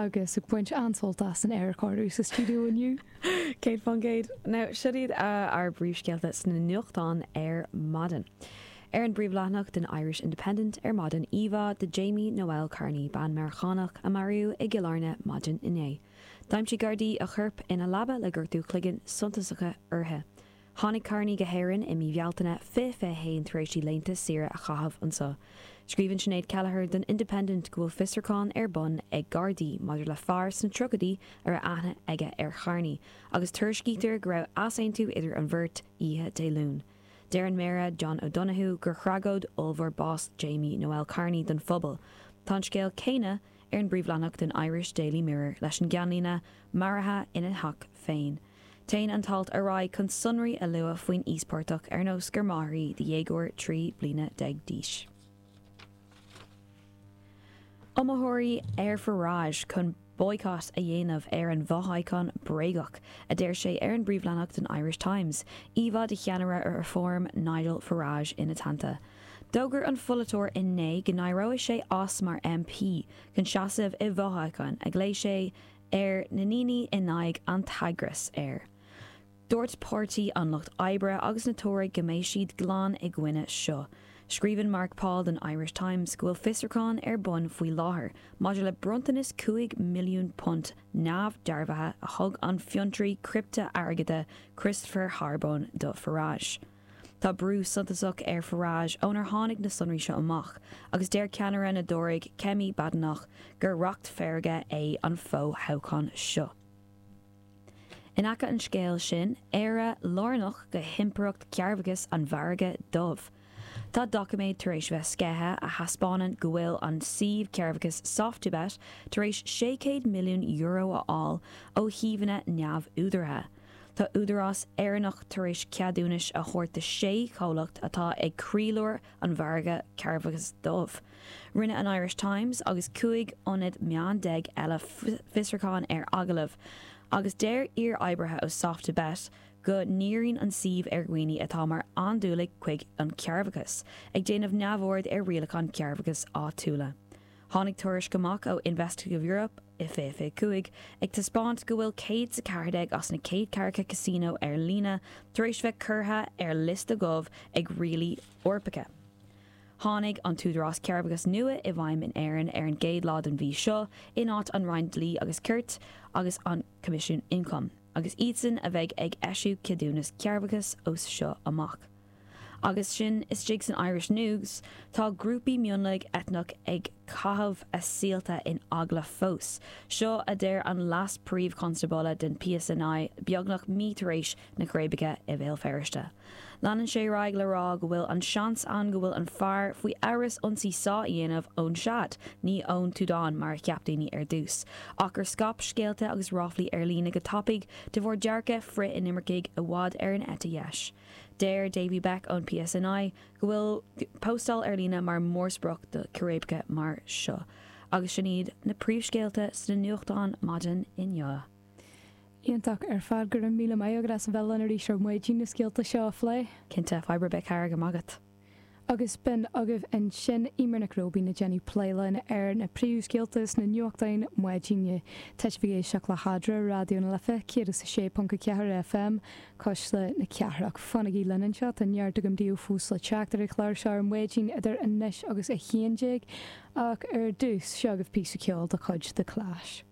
agus ag baint an-sult as an aerchóiriú sa stiúideo inniu. 100%. Now, seo iad ár bpríomhscéalta sna nuachtáin ar maidin. Ar an bpríomhleathanach den Irish Independent ar maidin, íomhá de Jamie Noel Carney, bean Meiriceánach a maraíodh i gCill Airne maidin inné. D'aimsigh Gardaí a corp ina leaba le gortú cloiginn suntasacha uirthi. Tháinig Carney go hÉirinn i mí Bhealtaine 2021 tar éis di laethanta saoire a chaitheamh anseo. Scríobhann Sinéad Kelleher don Independent go bhfuil fiosrúchán ar bun ag Gardaí maidir le fear sna tríochaidí a raibh aithne aige ar Charney agus tuairiscítear go raibh easaontú idir an bheirt oíche Dé Luain. Deir an Méara John O'Donoghue gur thragóid ollmhór bás Jamie Noel Carney don phobal. Tá an scéal céanna ar an bpríomhleathanach den Irish Daily Mirror leis an gceannlíne 'Maraithe ina theach féin'. Téann an t-alt ar aghaidh chun sonraí a lua faoin íospartach ar nós gur máthair í do dhéagóir 13 bliana d'aois. Iomaitheoirí ar Farage chun boycott a dhéanamh ar an bhfothoghchán bréagach, a deir sé ar an bpríomhleathanach den Irish Times, íomhá de cheannaire Reform Nigel Farage ina teannta. D'fhógair an pholaiteoir inné go n-éireoidh sé as mar MP chun seasamh i bhfothoghchán a ghlaoigh sé ar na ndaoine in aghaidh an t-eagras air. Dúirt Páirtí an Lucht Oibre agus na Tóraigh go mbeidh siad glan i gcoinne seo. Scríobhann Mark Paul don Irish Times go bhfuil fiosrúchán ar bun faoi láthair maidir le bronntanas £5 milliún neamhdhearbhaithe a thug an fiontraí criptea-airgeada Christopher Harbone do Farage. Tá brú suntasach ar Farage ónar tháinig na sonraí seo amach, agus deir ceannaire na dTóraigh Kemi Badenoch gur racht feirge é an fo-thoghchán seo. In aice an scéil sin, Éire lárnach go himpireacht cearrbhachais an mhargaidh dubh. Tá doiciméad tar éis bheith sceithe a thaispeánann go bhfuil an suíomh cearrbhachais Soft2Bet tar éis €600 milliún a fháil ó shuíomhanna neamhúdaraithe. Tá údarás Éireannach tar éis ceadúnais a thabhairt do shé chomhlacht atá ag croílár an mhargaidh cearrbhachais dubh. Rinne an Irish Times agus 15 ionad meán eile fiosrúchán ar agallaimh agus deir iar-oibrithe ó Soft2Bet go ndíríonn an suíomh ar dhaoine atá mar andúiligh chuig an chearrbhachas, ag déanamh neamhaird ar rialacháin cearrbhachais áitiúla. Tháinig tuairisc amach ó Investigative Europe i 2025 ag taispeáint go bhfuil 114 as na 140 casino ar líne tar éis bheith curtha ar liosta dubh ag rialaí Eorpacha. Tháinig an tÚdarás Cearrbhachais nua i bhfeidhm in Éirinn ar an gcéad lá den mhí seo in áit an Roinn Dlí agus Cirt agus an Coimisiún Ioncaim, agus iadsan a bheidh ag eisiú ceadúnas cearrbhachais ó seo amach. Agus sin istigh san Irish News, tá grúpaí mionlaigh eitneach ag caitheamh a saolta in eagla fós. Seo a deir an Leas-Phríomh-Chonstábla den PSNI beagnach mí tar éis na círéibeacha i Bhéal Feirste. Leanann sé ar aghaidh le rá go bhfuil an seans ann go bhfuil an fear faoi amhras ionsaí sá a dhéanamh ón Sead, ní ón tSúdáin mar a cheap daoine ar dtús, ach gur scaip scéalta agus ráflaí ar líne go tapaidh de bharr dearcadh frith-inimircigh i bhfad ar an eite dheis. Deir Davy Backe ón PSNI go bhfuil póstáil ar líne mar mhórsprioc do círéibeacha mar seo. Agus sin iad na príomhscéalta sna nuachtáin maidin inniu. Iontach ar fad. Go raibh míle maith agat as a bheith linn arís ar maidin na scéalta seo a phlé. Cinnte, fadhb ar bith, a chara, go maith agat. Agus b'in agaibh ansin Eimear Nic Róibín ag déanamh plé linn ar na príomhscéalta sna nuachtáin maidine. Tá sibh ag éisteacht le hAdra, Raidió na Life 106.4 FM, Cuisle na Cathrach. Fanaigí linn anseo, tá neart agam daoibh fós le teacht ar an chlár seo ar maidin idir anois agus 11, ach ar dtús, seo agaibh píosa ceoil de chuid The Clash.